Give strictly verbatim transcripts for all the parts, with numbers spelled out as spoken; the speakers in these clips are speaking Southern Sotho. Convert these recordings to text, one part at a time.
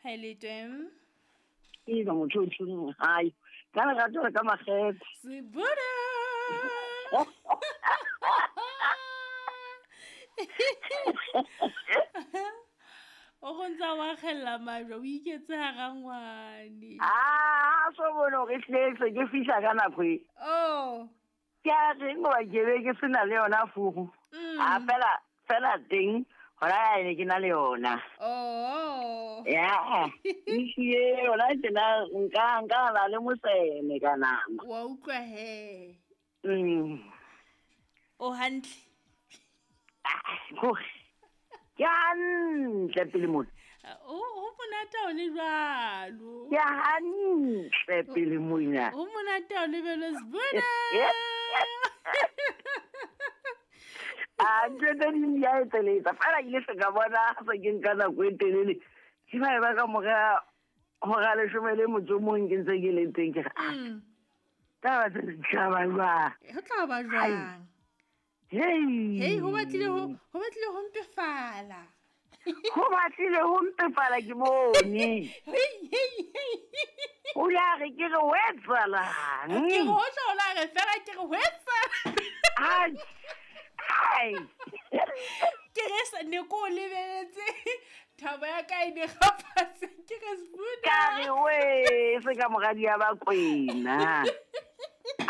Hello. Ke ba motho o tshung hai. Ka le rato ka makgethe. Sibuda. O go ntsa wa khella majwe o iketse ha rangwane. Ah, so bona re tletse ke fihla ka nako e. Oh. Ke a reng wa ke be ke sena le yona fugu. A fela fela teng hora ene ke na le yona. Oh. Ya. Iye yona ke na nka nka la le mosene ka nama. Wa utlwa he. Mm. O hantle. Go. Ke hantle pele mona. O ho monate o le jwalo. Ke hantle pele mona. Ho monate o le belo Sibuda. A ntho tse ding di a etseletsa. Fela ke ile se ka bona se ke nka nako e telele. Ke ba ba ka mora hora leshome le motso o mong ke ntse ke le teng ke re. Taba tse di tla ba jwang? Ho tla ba jwang? Hey. Hey, ho batlile ho ho batlile ho mpefala. Ho batlile ho mpefala ke bone. Hey, hey, hey. O la re ke re wetsalang. Ke ho tla o la re fela ke re wetsa. Ai. Ai. Ke re sa ne ko lebeletse thaba ya ka e ne gafatse ke re Sibuda. Ka re we se ka moradi ya ba kwena.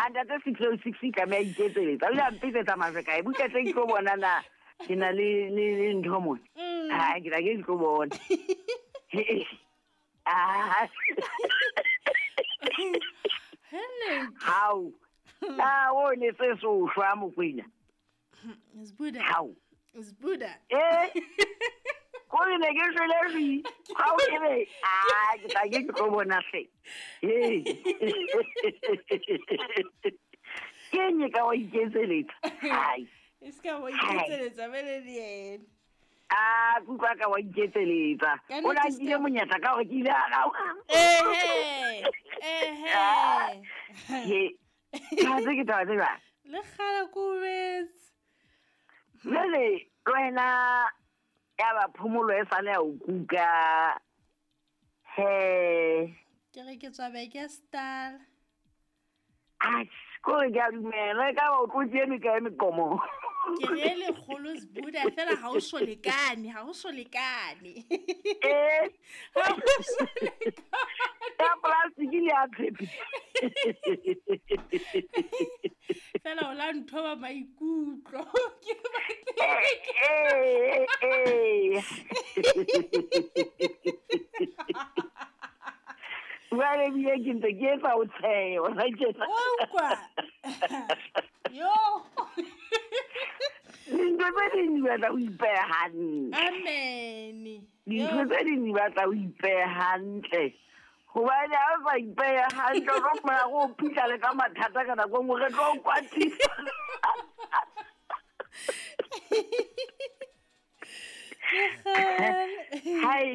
Ntate six oh six ka me iketseletsa. O ile a mpitsetsa majwe kae buka tse ke tlo bona na ke na le le ntho mona. Ha ke la ke tlo bona. Ah. Hello. How? Ah, o ne se so shwa mokwena. Sibuda. How? Sibuda. Eh. Ko ne ke shwele ri. Ha o ke be. Ah, ke tla ke tlo bona hle. Hey. Ke nye ka wa iketseletsa. Ai. E ska wa iketseletsa bele le yena. Ah, kutlwa ka wa iketseletsa. O la nkile monyetla ka hore ke ile a ga. Eh eh. Eh. Ka tse ke taba tse jwang? Le kgale ko betse. Jwale wena ya ba phomolo e sale ya o kuka. He. Ke re ke tswa beke star. Ai, ko re ke a dumela ka ba o tlotse eme ka eme komo. Ke re le kgolo Sibuda fela ha o so lekane, ha o so lekane. Eh. Ha o so lekane. Ya plastic le a tshepe. Fela o la ntho ba maikutlo. Ke Eh eh. Jwale ebile ke ntse ke etsa o tshehe, o sa tjena. Utlwa. Yo. Dintho tse ding di batla o ipehe hantle. Amen. Dintho tse ding di batla o ipehe hantle. Hobane ha o sa ipehe hantle, o tlo fumana o phihla le ka mathata ka nako e nngwe re tlo o kwatisa. Hai,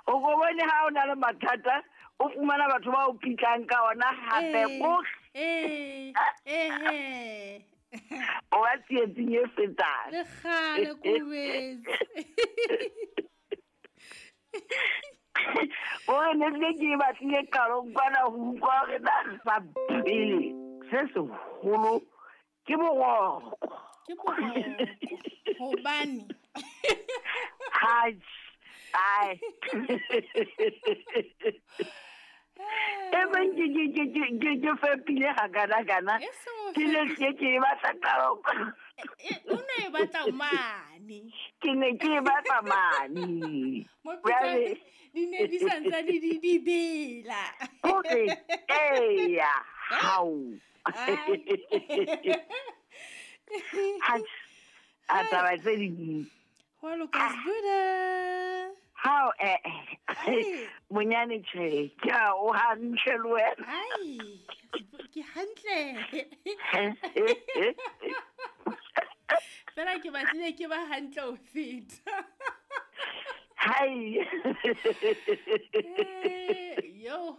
o ko bone ha o na le mathata, o fumana batho ba o pitlang ka ona hape ko. Eh, eh. O ba tsietsing e fetang. Le kgale ko betse. O re ne ke ke batlile qalong kwana ho utlwa hore na sa pele se seholo ke boroko. Ke boroko. Hobane. Hai. Ai. E beng ke ke ke ke ke ke fepile ha kana kana. Ke ne ke ke batla qalong. O ne e batla mane. Ke ne ke batla mane. Mo pitsa di ne di santsane di di bela. Okay. Eya. Hau. Ha a taba tse ding. Ho loka Sibuda. Hao eh monyane tjhe ke a o hantle le wena. Ai, ke hantle. Fela ke batlile ke ba hantle ho feta. Hai. Eh, yo.